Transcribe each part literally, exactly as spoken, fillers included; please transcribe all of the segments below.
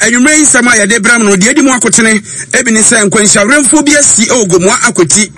Anwummerɛ yi nsɛm a yɛde brɛ mo no, deɛ edi mu akotene ebi ne sɛ nkwanhyiawerɛmfoɔ bi asi wɔ Gomoa Akwati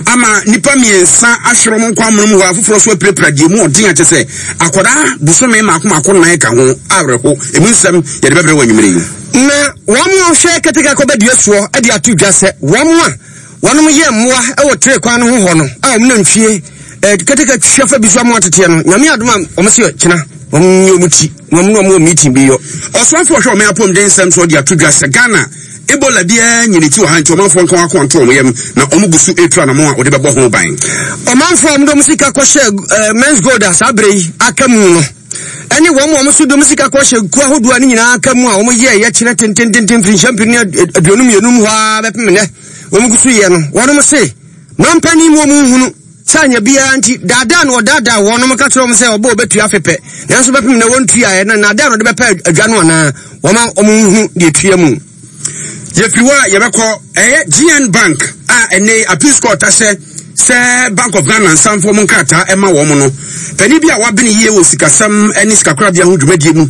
ama nnipa mmiɛnsa ahwere wɔn nkwa amono mu hɔ, afoforɔ so apirapira deɛ mu ɔden akyɛ sɛ akwadaa bosome mmaako mmaako nnan ka ho. Awerɛho emu nsɛm yɛde bɛbrɛ wɔ anwummerɛ yi. Na wɔn a wɔhwɛ keteke akɔbɛdua soɔ de ato dwa sɛ wɔn a wɔnom yɛ mmoa wɔ tere kwan no ho hɔ no a wɔn nantwie keteke twia fa bi so ama ateteɛ no, Nyame adom a wɔn se kyena wɔn nyɛ wɔn ti na wɔn ne wɔn wɔ meeting bi yɔ. Ɔsoafoɔ ɔhwɛ ɔman apɔmuden nsɛm so de ato dwa sɛ Ghana Ebola biara nyi ne ti wɔ ha, nti ɔmanfoɔ nka wɔn akoma nto wɔn yam na wɔn gu so retu anamɔn a wɔde bɛbɔ ho ban. Ɔmanfoɔ a wɔde wɔn sika kɔhyɛ Men's Gold a saa berɛ yi aka mu no ɛne wɔn a wɔn nso de wɔn sika kɔhyɛ kuo ahodoɔ a ne nyinaa aka mu a wɔyɛɛ yɛkyerɛ tentententen mfirinhyia mpem ne aduonu mmienu mu hɔ ara bɛpem nnɛ wɔn gu so yɛ no, wɔnom se mampanin mu wɔn nhunu sɛ anya biara nti daadaa na ɔdaadaa wɔnom ka kyerɛ wɔn sɛ ɔbɔ ɔbɛtua afe pɛ, nanso bɛpem nnɛ wɔntuaeɛ, na naadaa na ɔde bɛpɛ adwa no anaa wɔma wɔn nhunu deɛ tua mu. Yɛfiri hɔ a yɛbɛkɔ ɛyɛ G N Bank a ɛnɛ Appeals Court ahyɛ sɛ Bank of Ghana nsamfoɔ mu nkrataa ɛma wɔn no. Panin bi a wabene yie wɔ sikasɛm ne sikakorabea ho dwumadie mu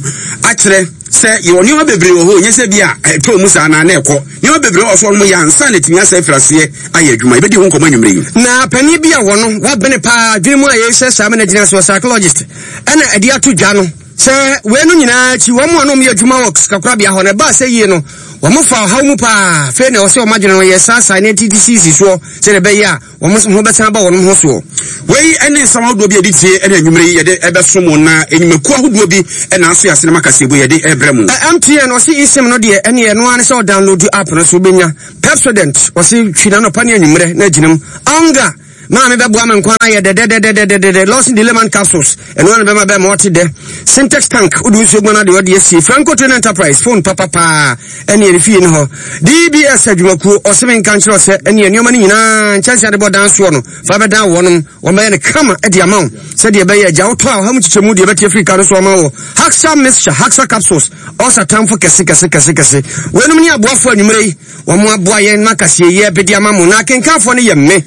akyerɛ sɛ yɛwɔ nneɛma bebree wɔ hɔ, nyɛ sɛ bi a ɛtɔ mu saa na na ɛkɔ. Nneɛma bebree wɔ so wɔn yɛ ansa na ɛtumi asɛ afiri aseɛ ayɛ adwuma. Yɛbɛdi ho nkɔmmɔ anwummerɛ yi. Na panin bi a wɔno wabene paa adwene mu a yɛhyɛ saa mena gyina so psychologist ɛna ɛde ato dwa no sɛ wei no nyinaa akyi wɔn a wɔn yɛ adwuma wɔ sikakorabea hɔ no ɛbaa sɛ yie no wɔn fa ɔhaw mu paa. Afei na ɔsɛ wɔn adwene no yɛ saasaa ne titi sisi soɔ sɛdeɛ ɛbɛyɛ a wɔn ho bɛsan aba wɔn ho soɔ. Wei ne nsɛm ahodoɔ bi a yɛde tie ne anwummerɛ yi yɛde ɛbɛso mo, na nnwumakuo ahodoɔ bi na aso yɛ ase na makaseɛbu yɛde ɛbrɛ mo. M T N ɔse eSIM no deɛ ɛne ɛno ara ne sɛ ɔdownload app no so wobɛnya. Pepsodent ɔse twi n'anɔpa ne anwummerɛ na agyina mu. Onga maame bɛboa me nkwa ayɛ dɛdɛdɛdɛdɛdɛdɛ. Lawson Delayman capsules ɛno ara na bɛma bɛma ɔte dɛ. Syntex tank wode nsuo guan adeɛ ɔde asie. Franco Train Enterprise phone papapaa ɛne ɛne fie no hɔ. D B S adwumakuo ɔse me nka nkyerɛ sɛ ɛne nneɛma no nyinaa nkyɛnse ade bɔ dan soɔ no fa bɛdan wɔnom wɔn bɛyɛ no kama de ama wo sɛdeɛ ɛbɛyɛ agya wotɔ a ɔha mu kyekyɛ mu deɛ ɛbɛte afiri ka no so ama wɔ. Haxa mixture, Haxa capsules ɔsa tamfo kɛse kɛse kɛse kɛse. Weinom ne aboafoɔ anwummerɛ yi wɔn aboa yɛn ma kaseɛ yi ɛbɛdi ama mo, na akenkanfoɔ no yɛ me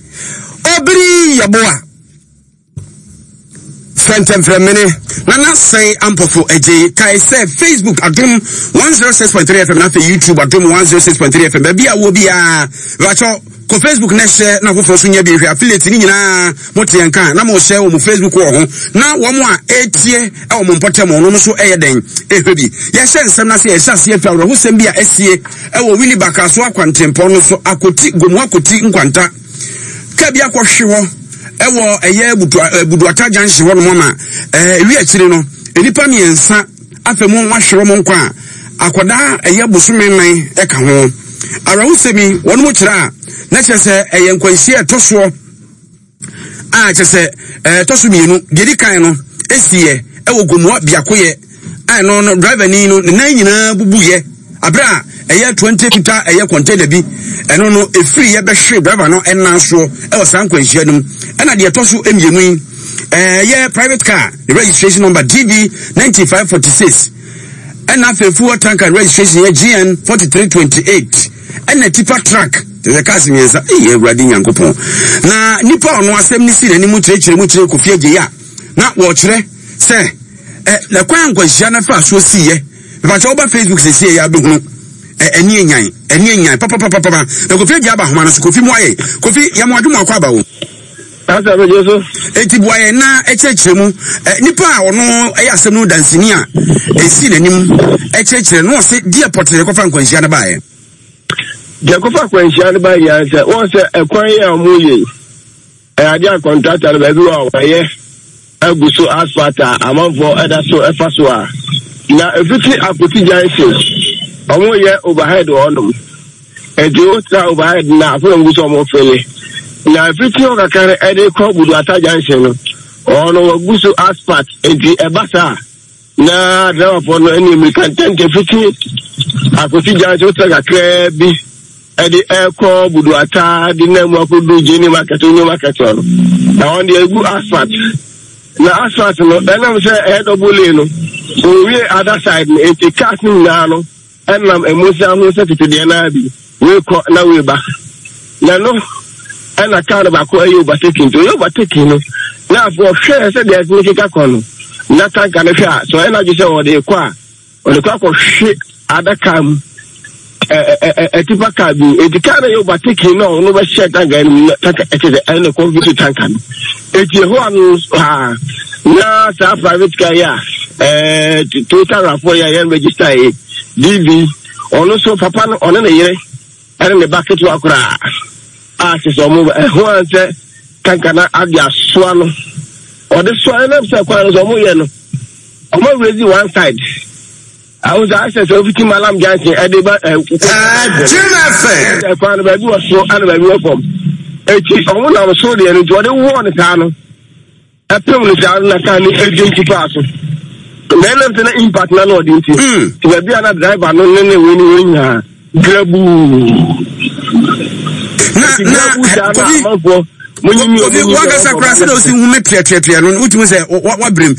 Obiri Yeboah Fɛntɛmfrɛmene Nana Sɛn Ampɔfo Agye. Kae sɛ Facebook Adom one oh six point three F M na afei YouTube Adom one oh six point three F M. Baabi a wɔ biara bɛkyɛ kɔ Facebook na hyɛ na afoforɔ so nya bi hwɛ. Affiliate ne nyinaa mo te yɛn ka na mo hyɛ wɔ mo Facebook wɔ ho, na wɔn a etie ɛwɔ mo mpɔtam no nso ɛyɛ dɛn ehwɛ bi. Yɛhyɛ nsɛm na sɛ yɛhyɛ aseɛ fi awerɛhosɛm bi a ɛsie ɛwɔ Willie Bakraso akwantempɔn no so Akoti Gomu Akoti Nkwanta ka bi akɔhwe hɔ ɛwɔ ɛyɛ Buduata junction hɔ nom ama ɛwi akyire no nnipa mmiɛnsa afɛ mu wahwere wɔn nkwa a akwadaa ɛyɛ bosome nnan ɛka ho. Awerɛhosɛm yi wɔn mo kyerɛ a na kyerɛ sɛ ɛyɛ nkwanhyia ɛtɔ soɔ a kyerɛ sɛ ɛtɔ so mmienu. Deɛ di kan no esiiɛ ɛwɔ Gomoa Biakoyɛ a ɛno no driver ni no ne nan nyinaa bubuyɛ abere a ɛyɛ twenty meter ɛyɛ container bi ɛno no efiri yɛ bɛhwe driver no ɛnan soɔ ɛwɔ saa nkwanhyia no mu. Ɛna deɛ ɛtɔ so mmienu yi ɛyɛ private car ne registration number D B ninety five forty six ɛna afei fuel tanker registration yɛ G N forty three twenty eight ɛna tipa truck ɛyɛ cars mmiɛnsa. Ɛyɛ Awurade Nyankopɔn na nipa ɔno asɛm ne si n'anim kyerɛkyerɛ mu kyerɛ Kofi Agye a na wɔkyerɛ sɛ ɛ na kwan nkwanhyia no fa so si yɛ. Mepakyɛ woba Facebook sɛsie yɛ abɛhunu ɛni enyan ɛni enyan papapapapa. Na Kofi Agye aba ahoma no so. Kofi mu ayɛ Kofi yɛ mo adwuma akɔ aba wo. Asa bɛgye so. Eti bua yɛn na ɛkyerɛkyerɛ mu. Nipa a ɔno ɛyɛ asɛm no dansini a esi n'anim ɛkyerɛkyerɛ no ɔse deɛ pɔtee kɔfa nkwanhyia no baeɛ. Deɛ kɔfa nkwanhyia no baeɛ nyinaa sɛ wɔn sɛ ɛkwan yɛ a wɔn yɛ ɛyɛ adeɛ a kɔntrata no baabi wɔ a wɔayɛ agu so asphalt a amanfoɔ ɛda so ɛfa so a na efiti Akoti junction wɔn yɛ overhead wɔ hɔnom. Nti wotra overhead na afei wɔn gu so wɔn fele na efiti hɔ kakra no ɛde kɔ Buduata junction no ɔno wɔgu so asphalt nti ɛba saa na driverfoɔ no ɛne mmirika ntɛntɛ fiti Akoti junction wotra kakraa bi ɛde ɛkɔ Buduata de nam mu akɔdu Gini market Onyo market hɔ no na wɔn deɛ egu asphalt na asphalt no ɛnam sɛ ɛyɛ double lane no owie other side no nti cars no nyinaa no ɛnam emusia ho sɛ tete deɛ naa bi wei kɔ na wei ba na no ɛna car no baako ɛyɛ overtaking nti ɔyɛ overtaking no na afɔ ɔhwɛ sɛ deɛ ɛtumi keka kɔ no na tanka no hwɛ a sɛ ɔyɛ n'adwe sɛ ɔde kɔ a Ɔde kɔ akɔhwe adaka mu, ɛtipa kaa bi. Eti kaa no yɛ overtaking na ɔno bɛhyɛ tanka no mu na tanka ɛkyɛ sɛ ɛna kɔ fi tanka no. Eti ɛhɔ ano ha na saa private car yi a ɛɛ Toyota RAV four yi a yɛn register yi D V, ɔno nso papa no, ɔne ne yere ɛne ne ba ketewa koraa a kyerɛ sɛ ɔmo ɛho ansɛ tanka na ade asoa no, ɔde soa ɛnam sɛ kwan no sɛ ɔmo yɛ no, ɔmo raise one side. Ahosuo asɛ sɛ ofiti Malam Junction ɛde ba ɛ Jim F M. Ɛkwan no baabi wɔ soro ɛna baabi wɔ fam, eti ɔmo nam soro deɛ no, nti ɔde wɔɔ ne saa no, ɛpem ne saa no na kaa no edi nti paa so na ɛnam sɛ na impact na na ɔde nti Mm. Ti baabi a na driver no ne ne wei ne wei nyinaa grabuu. Na Eti na grabuu saa na Kofi amanfoɔ mo nyimi. Kofi, wankasa koraa sɛ na osi hu me piapiapia no, wotumi sɛ wabrem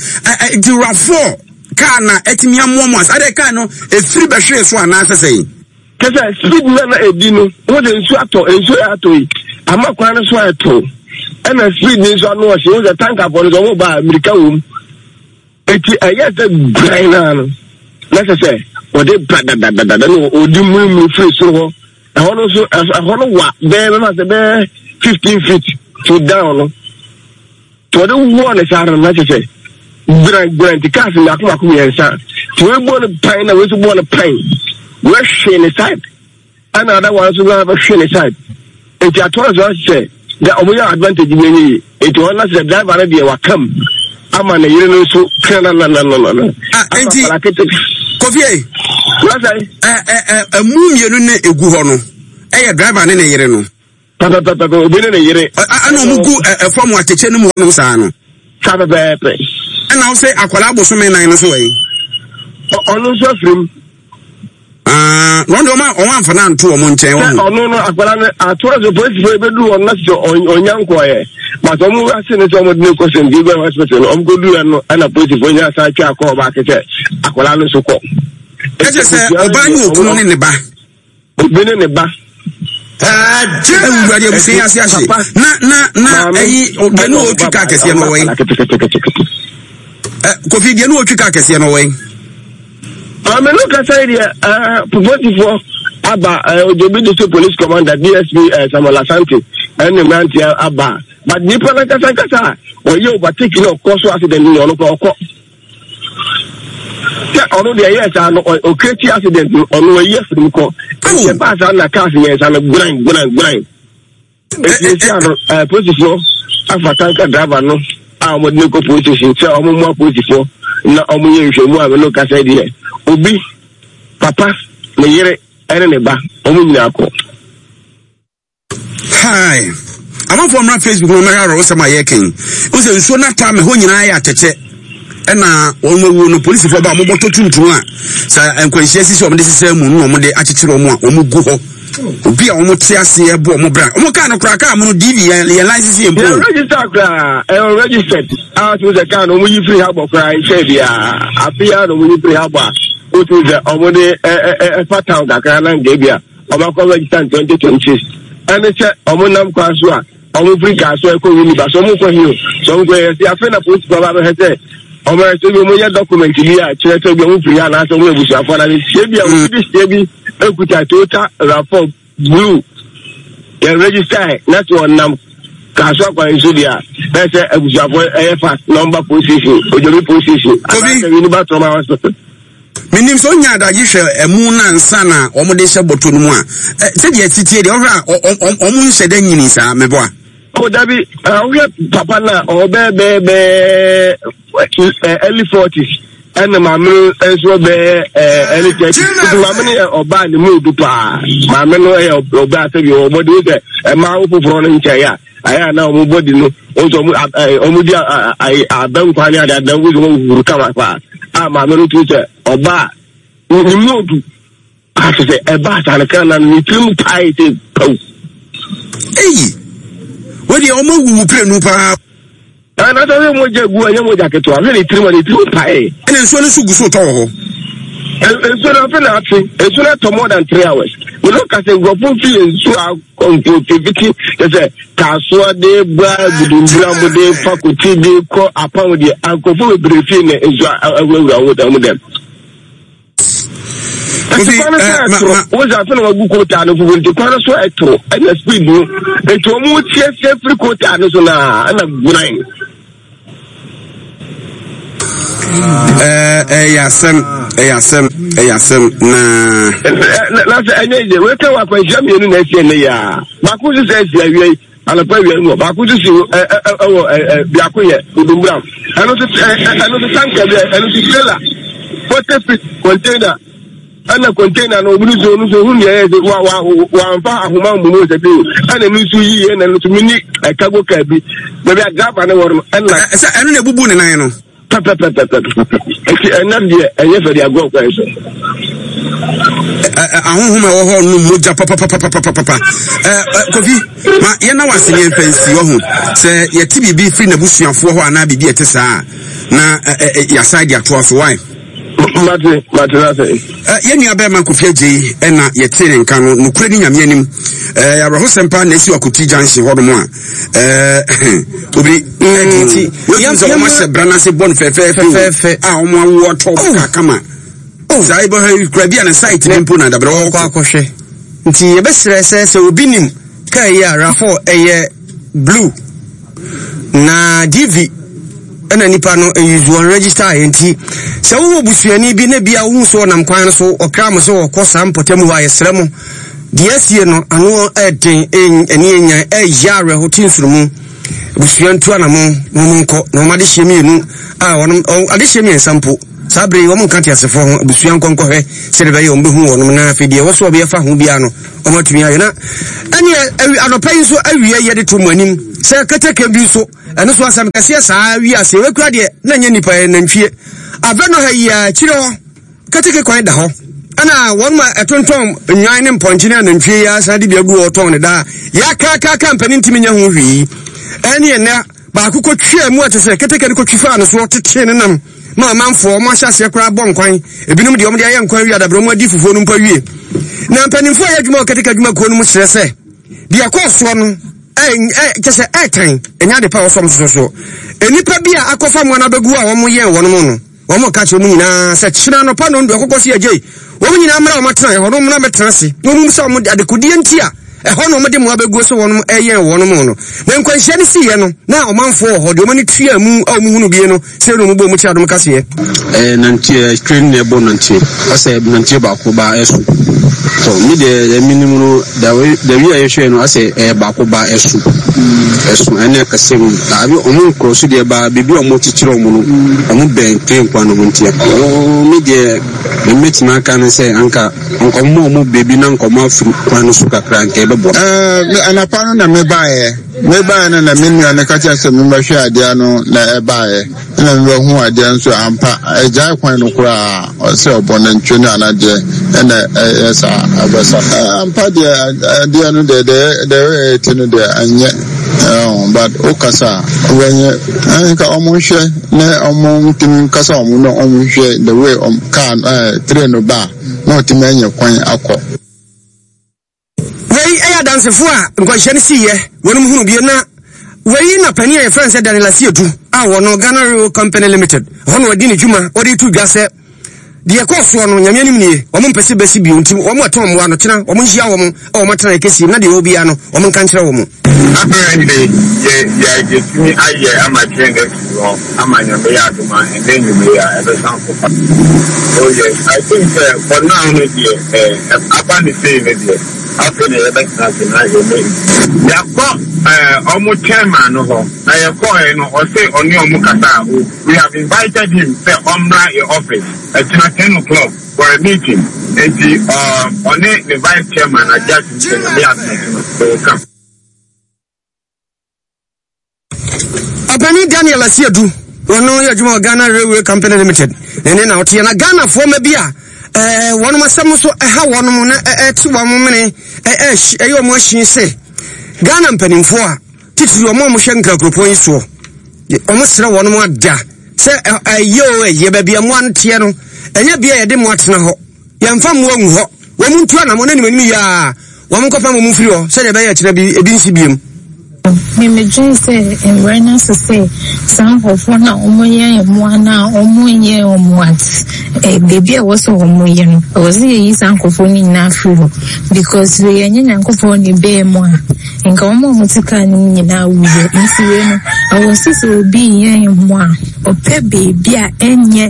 nti RAV four kaa na ɛtumi amoa mu asa adeɛ kaa no efiri bɛhwee so anaasɛ sɛn? Kɛsɛ speed na na edi no, wɔn sɛ nsuo atɔ, nsuo yɛ atɔ yi ama kwan no so ayɛ to, ɛna speed ni nso ano ɔhyɛ. Wɔn sɛ tankafoɔ no sɛ wɔn ba mirika wɔm, eti ɛyɛ sɛ guran naa no na sɛ sɛ wɔde ba dadadada na ɔdi mmurimuri firi soro hɔ. Ɛhɔ no nso, ɛhɔ no wa bɛyɛ bɛma sɛ bɛyɛ fifteen feet to down no, tí wɔde wɔ ne saa no na kyerɛ sɛ gbiran gbiran, nti cars mako mako mmiɛnsa tí wɔn bɔ no pan na wɔn nso bɔ no pan, wɔahwe ne side, ɛna ada wɔn nso na bɛhwe ne side, nti atoa so sɛ dɛ wɔn yɛ advantage bi enye yie, nti wɔn na sɛ driver no deɛ wakam ama ne yere no nso kra na na na na na. Ah, nti Kofi ɛ ɛ ɛ ɛmu mmienu ne egu hɔ no, ɛyɛ driver ne ne yere no? Pɛpɛpɛpɛ, obi ne ne yere. Ɛna ɔmo gu ɛfɔm atɛkyɛ no mu hɔnom saa no. Saa pɛpɛɛpɛ. Ɛna wo sɛ akwadaa abosome nan no so wɔ yi? Ɔno nso afiri mu. Na ɔno deɛ ɔma ɔmo amfa no anto ɔmo nkyɛn. Sɛ ɔno no akwadaa no atoa so, polisifoɔ ebedu hɔ no na sɛ ɔnya nkɔɔyɛ, but ɔmo ase ne sɛ ɔmo de ne kɔ Saint Gabriel Hospital no, ɔmo kɔ du yɛ no, ɛna polisifoɔ nyɛ asan atwa akɔ ɔbaako sɛ akwadaa no nso kɔ. Ɛkyɛ sɛ ɔbaa ne okunu ne ne ba. Obi ne ne ba. Ewurade, abusua yi ase ahye. Na na na ɛyi deɛ ne otwi kaa kɛseɛ no wɔ yi. Kofi, deɛ ne otwi kaa kɛseɛ no wɔ yi? Maame no kasa yi deɛ, ɛɛ polisifoɔ aba, ɛɛ Ojobi District Police Commander D S P ɛɛ Samuel Asante ɛne mmeranteɛ aba, but nipa no kasa kasa a ɔyɛ overtake na ɔkɔ so accident no, ɔno kɔ ɔkɔ sɛ ɔno deɛ ɛyɛ saa no, ɔcreate accident no, ɔno ɔyi afiri mu kɔ. Ɛnkyɛ baa saa na cars mmiɛnsa no gburan gburan gburan. Eti esi ano, ɛɛ polisifoɔ afa tanker driver no a wɔde no kɔ police station sɛ wɔn mu apolisifoɔ na wɔn yɛ nhwɛmu a no kasa deɛ, obi papa, ne yere ɛne ne ba, wɔn nyinaa kɔ. Hi. Amanfoɔ mmra Facebook no mmɛhwɛ awerɛhosɛm a yɛreka yi. Wo sɛ nsuo no ataa me hɔ nyinaa yɛ atɛkyɛ. Ɛna wɔn awuo no, polisifoɔ ba a wɔbɔtɔ tuntum a sɛ nkwanhyia sisi wɔn de sisɛ mu no na wɔn de akyekyere wɔn a wɔn gu hɔ. Obi a wɔn te aseɛ bɔ wɔn bra. Wɔn kaa no koraa, kaa mu no D V yɛn yɛn license yɛn mpo. Yɛn register koraa, ɛyɛ registered. A tumi sɛ kaa no wɔn yi firi ha bɔ koraa nkyɛn biara. Afe yi ara na wɔn yi firi ha bɔ a wotumi sɛ wɔn de ɛ ɛ ɛfa town kakra na nka ebi a wɔn akɔ register in twenty twenty six. Ɛne sɛ wɔn nam kwan so a wɔn firi kaa so ɛkɔ Winneba so, wɔn kɔ hill so, wɔn kɔ yɛ si afei na polisi ba bɛhwɛ sɛ wɔn ayɛ sɛ bi wɔn yɛ document bi a kyerɛ sɛ bi wɔn firi ha anaasɛ wɔn yɛ abusuafoɔ na sie bi a wɔn bi sie bi ekuta Toyota RAV four blue yɛn register na sɛ ɔnam kaaso akwan so deɛ a, na sɛ abusuafoɔ ɛyɛ fast na wɔn ba police station, Ojobi police station anaasɛ Winneba Trauma Hospital. Menim sɛ onya adagye hwɛ ɛmu no ansa na wɔn de hyɛ bɔtɔ no mu a, sɛdeɛ ɛtetie deɛ ɔhwɛ a, wɔn nhyɛ dɛ nyini saa meboa. O dabi, ɔhwɛ papa no a ɔbɛɛ bɛɛ bɛɛ early forties, ɛna maame no nso bɛɛ early thirties, nti maame no yɛ ɔbaa ne mu odu paa. Maame no yɛ ɔbaa sɛbi ɔbɔ de sɛ ɛmaa wo foforɔ no nkyɛn a ayɛ a na wɔn bɔdi no wɔn nso wɔn wɔn di abɛnkwan ne ade ade na wɔn nso wɔn huhuru kama paa a maame no tumi sɛ ɔbaa ne mu odu ase sɛ ɛbaa saa no kan na ne tirim pae sɛ paw. Eyi wei deɛ, wɔn awuwu pirenu paa. Ɛna sɛ ɔyɛ mogya gu, ɛnyɛ mogya ketewa, hwɛ ne tirim a ne tirim pae. Ɛna nsuo no nso gu so tɔ wɔ hɔ? Nsuo no afe na ate, nsuo no atɔ more than three hours. Mene ka sɛ nkurɔfoɔ fi nsuo akɔmfiti kyɛ sɛ kaasoa de ba Budumbura mo de fa koti de kɔ Apam deɛ, nkurɔfoɔ bebree fie na nsuo awurawura wɔn dɛm. Nti kwan no so ɛtoro wosɛ afei na wagu kootaa no fufu nti kwan no so ɛtoro ɛna speed no nti wɔn siesie firi kootaa no so na ɛna gunan. Ɛyɛ asɛm, ɛyɛ asɛm, ɛyɛ asɛm na. Na sɛ ɛnyɛ yie weka wɔ akwanhyia mmienu na ɛsi ɛnɛ yɛ a baako nso sɛ ɛsi awia yi anɔpa awia yi mu baako nso si ɛwɔ ɛ biako yɛ odumburam ɛno nso ɛno nso tanka bi ɛno nso trailer forty feet container ɛna container no obi nso ɔno nso ohun deɛ ɛyɛ sɛ wa wa wamfa ahoma mmumu sɛ bi ɛna ɛno nso yi ɛna ɛno nso mini ɛkago kaa bi baabi a driver no wɔ no ɛna. Sɛ ɛno na ebubu ne nan no. Pɛpɛpɛpɛpɛ nti ɛnɛ deɛ ɛnyɛ fɛ de agorɔ kwan so. Ahohom a ɛwɔ hɔ no mogya papapapapapa. Kofi, ma yɛn na wase ne yɛn fɛ nsi wɔ ho sɛ yɛte biribi firi n'abusuafoɔ hɔ anaa biribi ɛte saa na yɛasan de atoa so wae. Mate, mate na sɛ. Yɛn nua bɛrima Kofi Agyei ɛna yɛte ne nka no nokorɛ ne Nyame anim. Ɛɛ awerɛhosɛm paa na esi wɔ Akoti Junction hɔnom a ɛɛ obi ɛdi ti wɔn sɛ wɔn ahyɛ bra n'ase bɔ no fɛfɛɛfɛ a wɔn awo atɔ oh. kama. Oh. Saa ibɔ ha kura bi a ne site bi mpo na dabrɛ wɔkɔ akɔhwɛ. Nti yɛbɛsrɛ sɛ sɛ obi nim kaa yi a Raffo ɛyɛ blue na D V ɛna nipa no ɛyuzu wɔn register ayɛ. Nti sɛ wowɔ busuani bi na bia wohu so ɔnam kwan no so ɔkra mo sɛ wɔkɔ saa mpɔtam hɔ a, yɛsrɛ mo, deɛ asie no ano ɛden, ɛne ɛnyan ɛyɛ awerɛho te nsurumu. Abusua ntu anamo na wɔn nkɔ na wɔn adehyeɛ mmienu a wɔn adehyeɛ mmiɛnsa mpo saa bere yi wɔn nka teasefoɔ ho. Abusua nkɔnkɔhwɛ sɛdeɛ ɛbɛyɛ wɔn bɛhu wɔn, na afei deɛ ɛwɔ so a wɔbɛyɛ fa ho biara no wɔn atumi ayɛ. Na ɛne anɔpa yi nso awie yɛde to mu anim sɛ keteke bi nso ɛno so asɛm kɛseɛ saa wiase wɔkura deɛ na nyɛ nipa yɛ nantwie abɛ no ha yi akyire hɔ keteke kwan da hɔ, ɛna wɔn ma ɛtontɔn nnwan ne mpɔnkye ne anantwie yi asan de bi agu hɔ tɔn ne daa yɛakaakaaka mpanin ntumi nyɛ ho hwee. Ɛne ɛnɛ baako kɔtwaa mu a kyɛ sɛ keteke no kɔtwi faa no soɔ tetee ne nam ma amanfoɔ ɔmo ahyɛ aseɛ koraa bɔ nkwan. Ebinom deɛ ɔmo de ayɛ nkwan wie adabrɛ ɔmo adi fufuo no mpo awie. Na mpanimfoɔ a yɛ adwuma wɔ keteke adwumakuo no mu kyerɛ sɛ deɛ ɛkɔɔ soɔ no kyɛ sɛ ɛɛtan ɛnyɛ ade pa a wɔsɔm soso so. Nnipa bi a akɔfa mmoa no abɛgu a wɔn yɛn wɔn no, wɔn ka kyerɛ mu nyinaa sɛ kyerɛ anɔpa no ndu akɔkɔ si agye wɔn nyinaa mmra wɔn atena ɛhɔ no mmra bɛtena ase na wɔn mu sɛ wɔn adekodeɛ nti a ɛhɔ na wɔde mmoa bɛguo sɛ wɔn ɛyɛn wɔn mu no. Na nkwanhyia no siiɛ no na ɔmanfoɔ wɔ hɔ deɛ wɔn ani tua mu a wɔn hunu bie no sɛ na wɔn bɔ wɔn kyerɛ Adom kaseɛ. Ɛɛ nanteɛ train na ɛbɔ nanteɛ ɔsɛ nanteɛ baako ba ɛso tɔ mi deɛ ɛmi nim no dawi dawi a yɛhwɛ no asɛ ɛyɛ baako ba ɛso ɛso ɛne ɛkɛse mu abi ɔmo nkorɔ so deɛ ba beebi a ɔmo kyekyere ɔmo no ɔmo bɛn train kwan no ho ntia ɔɔ mi deɛ mɛmɛtumi aka no sɛ anka nkɔmɔ ɔmo beebi na nkɔmɔ afiri kwan no so kakra nka ɛbɛboa. Ɛɛ anapa no na mebaeɛ mebaeɛ no na me nua no ka kyerɛ sɛ memmɛhwɛ adeɛ no na ɛbaeɛ ɛna mebɛhu adeɛ nso ampa agyae kwan no koraa sɛ ɔbɔ nantwie no anadeɛ ɛna ɛyɛ saa abɛsa ampa deɛ adeɛ no deɛ deɛ deɛ ɛte no deɛ ɛnyɛ, but wokasa a wobɛnyɛ nka ɔmo nhwɛ na ɔmo ntumi nkasa ɔmo na ɔmo nhwɛ the way ɔmo car ɛɛ train no ba na ɔtumi anya kwan akɔ. Wei ɛyɛ adansefo a nkwanhyia no siiɛ wɔnom hunu bie. Na wei na panin a yɛfrɛ no sɛ Daniel Asiedu a wɔno Ghana Railway Company Limited hɔ na wɔdi ne dwuma wɔde to dwa sɛ deɛ ɛkɔɔ soɔ no Nyame anim nie, wɔn mpɛ sɛ bɛsi bio, nti wɔn ɛtɔn mmoa no kyena wɔn nhyia wɔn a wɔn atena ɛkɛsie na deɛ ɛwɔ biara no wɔn nka nkyerɛ wɔn. Apparently yɛ yɛ yɛtumi ayɛ ama train no afiri hɔ ama Nyame yɛ adom a ɛnɛ nnwuma yi a ɛbɛsan kɔ pa. Oh yes, I think sɛ for now no deɛ ɛɛ aba ne sei no deɛ afei na yɛbɛtena ase na yɛne yɛakɔ ɛɛ ɔmo chairman no hɔ na yɛkɔɛ no ɔse ɔne ɔmo kasa a o we have invited him sɛ ɔmmra yɛ office ɛkyena ten o'clock for a meeting, nti ɔne ne vice chairman agye atum sɛ Nyame yɛ adom akyi no they will come. Ɔpanin Daniel Asiedu, wɔno yɛ adwuma wɔ Ghana Railway Company Limited na ɛne na ɔteɛ. Na Ghanafoɔ ma bi a ɛɛ wɔnom asɛm nso ɛha wɔnom na ɛte wɔn mene ɛyɛ wɔn ahyin sɛ Ghana mpanimfoɔ a titiri wɔn a wɔhwɛ nkrakuropɔn yi soɔ, wɔn srɛ wɔnom ada sɛ ɛyɛ o ɛyɛ baabi a mmoa no teɛ no ɛnyɛ bea yɛde mmoa tena hɔ, yɛmfa mmoa ngu hɔ. Wɔn ntu anamɔ n'anim anim yia wɔn nkɔfa wɔn mfiri hɔ sɛdeɛ ɛbɛyɛ ɛkyerɛ bi ebi nsi biem. Me medwen sɛ mmerɛ no aso sɛ saa nkurɔfoɔ no a wɔyɛ mmoa no a wɔnyɛ wɔn at eh, baabi a ɛwɔ sɛ wɔyɛ no, ɛwɔ sɛ yɛyi saa nkurɔfoɔ no nyinaa firi hɔ because wei ɛnyɛ Nyankopɔn ne bɛɛ mu a nka wɔn a wɔte kaa no mu nyinaa wuyɛ. Nti wei no ɛwɔ sɛ sɛ obi yɛ mmoa a ɔpɛ baabi a ɛnyɛ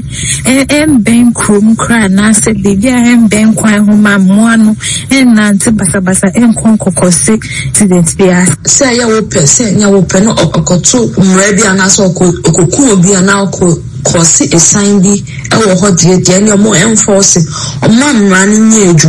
ɛmbɛn kurom koraa anaasɛ baabi a ɛmbɛn kwan ho ma mmoa no ɛnnante basabasa ɛnkɔ nkɔkɔse accident biara. Sɛ ɛyɛ wo pɛ sɛ ɛnyɛ wo pɛ na ɔkɔto mmara bi anaasɛ ɔkɔ ɔkɔku obi anaa ɔkɔ kɔɔse ɛsan bi wɔ hɔ deɛ deɛ ɛne ɔmo ɛnfɔɔse ɔmo mmara no nyɛ adwuma.